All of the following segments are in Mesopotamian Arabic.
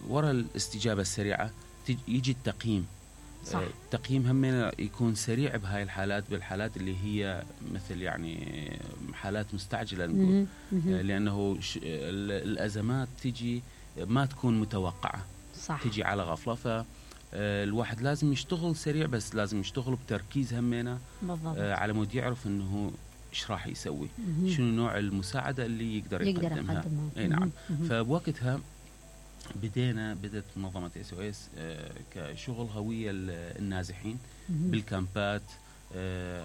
ورا الاستجابة السريعة يجي التقييم. صح. التقييم هم يكون سريع بهاي الحالات، بالحالات اللي هي مثل يعني حالات مستعجلة نقول، لأنه الأزمات تجي ما تكون متوقعة. صح. تجي على غفلة، فالواحد لازم يشتغل سريع، بس لازم يشتغل بتركيز همينة على مود يعرف انه ايش راح يسوي، شنو نوع المساعدة اللي يقدر يقدمها. اي نعم. فبوقتها بدت منظمة SOS كشغل هوية النازحين بالكامبات،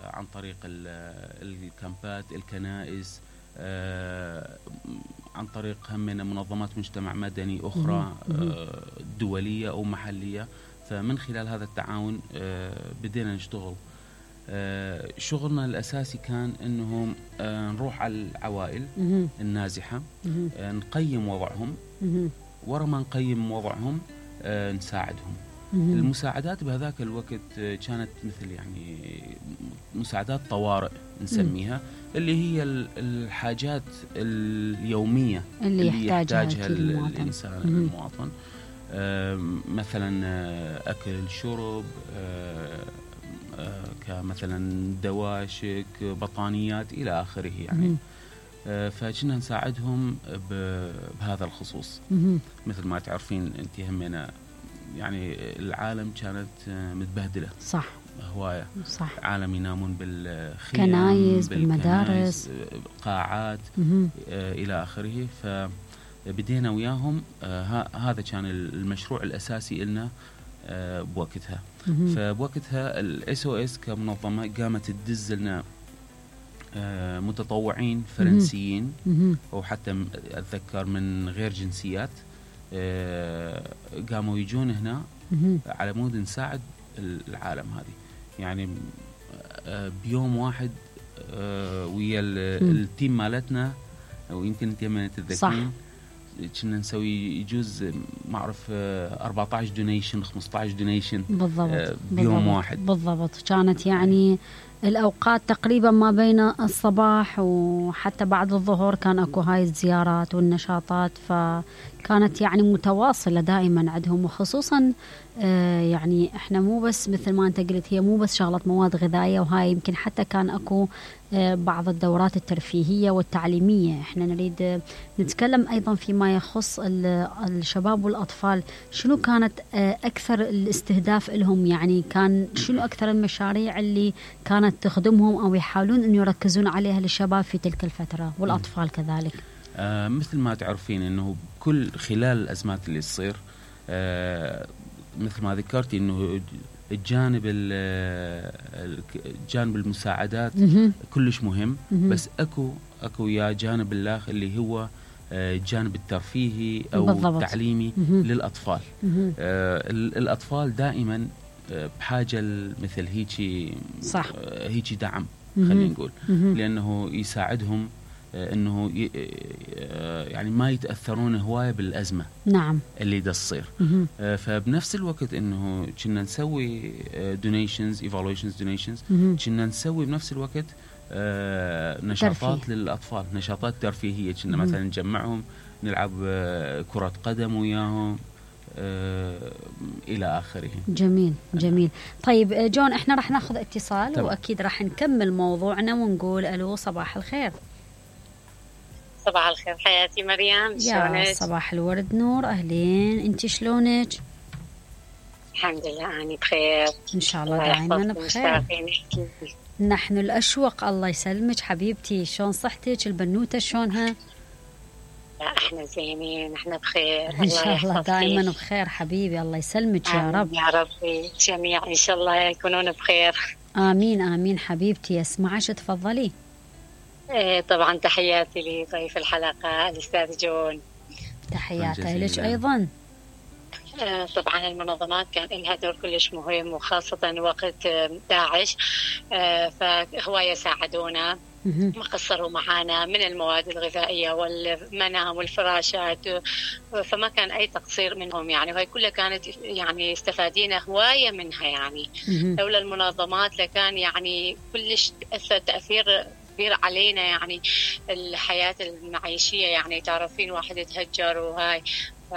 عن طريق الكامبات، الكنائس، عن طريق همنا منظمات مجتمع مدني أخرى دولية أو محلية. فمن خلال هذا التعاون بدينا نشتغل. شغلنا الأساسي كان أنه نروح على العوائل النازحة، نقيم وضعهم، ورا ما نقيم وضعهم نساعدهم. المساعدات بهذاك الوقت كانت مثل يعني مساعدات طوارئ نسميها، اللي هي الحاجات اليومية اللي يحتاجها الإنسان المواطن. مثلا أكل، شرب، كمثلا دواشك، بطانيات إلى آخره يعني. فكنا نساعدهم بهذا الخصوص. مثل ما تعرفين أنت همنا يعني العالم كانت متبهدلة. صح. هواية. صح. عالم ينامون بالخيام، كنايس، بالمدارس، قاعات إلى آخره. فبدينا وياهم. هذا كان المشروع الأساسي لنا بوقتها. فبوقتها SOS كمنظمة قامت تدز لنا متطوعين فرنسيين، أو حتى أتذكر من غير جنسيات، قاموا يجون هنا على مود نساعد العالم هذه. يعني بيوم واحد ويا التيم مالتنا، ويمكن انت ما تتذكرين، كنا نسوي يجوز ما اعرف 14 دونيشن 15 دونيشن بالضبط بيوم واحد. بالضبط. كانت يعني الأوقات تقريبا ما بين الصباح وحتى بعد الظهر كان أكو هاي الزيارات والنشاطات، فكانت يعني متواصلة دائما عندهم. وخصوصا يعني احنا مو بس مثل ما انت قلت، هي مو بس شغلة مواد غذائية وهاي، يمكن حتى كان أكو بعض الدورات الترفيهية والتعليمية. احنا نريد نتكلم أيضا فيما يخص الشباب والأطفال. شنو كانت أكثر الاستهداف لهم؟ يعني كان شنو أكثر المشاريع اللي كانت تخدمهم أو يحاولون أن يركزون عليها للشباب في تلك الفترة والأطفال كذلك؟ مثل ما تعرفين أنه كل خلال الأزمات اللي تصير، مثل ما ذكرتي أنه الجانب المساعدات كلش مهم، بس أكو يا جانب الآخر اللي هو الجانب الترفيهي أو بالضبط. التعليمي للأطفال. الأطفال دائما بحاجة مثل هيجي دعم، خلينا نقول، لأنه يساعدهم أنه يعني ما يتأثرون هواية بالأزمة. نعم. اللي تصير. فبنفس الوقت أنه كنا نسوي donations evaluations donations، كنا نسوي بنفس الوقت نشاطات ترفيه للأطفال، نشاطات ترفيهية. كنا مثلا نجمعهم نلعب كرة قدم وياهم إلى آخره. جميل جميل. طيب جون، احنا راح ناخذ اتصال طبعا. وأكيد راح نكمل موضوعنا ونقول ألو، صباح الخير. صباح الخير حياتي مريم، يا صباح الورد نور، أهلين، أنت شلونك؟ الحمد لله أنا بخير إن شاء الله دائما بخير. نحن الأشوق. الله يسلمك حبيبتي، شلون صحتك؟ البنوتة شلونها؟ لا احنا زينين، احنا بخير ان شاء الله دائما بخير حبيبي. الله يسلمك يا رب. يا ربي جميع ان شاء الله يكونون بخير. امين امين حبيبتي. اسمعش تفضلي. طبعا تحياتي لضيف الحلقة الأستاذ جون. تحياتي لك أيضا. طبعا المنظمات كان لها دور كلش مهم، وخاصة وقت داعش، فهواية ساعدونا، ما قصروا معنا من المواد الغذائية والمنام والفراشات، فما كان أي تقصير منهم يعني. وهي كلها كانت يعني استفادينا هواية منها يعني. لولا المنظمات لكان يعني كلش تأثر تأثير كبير علينا يعني الحياة المعيشية. يعني تعرفين واحد يتهجر وهاي، ف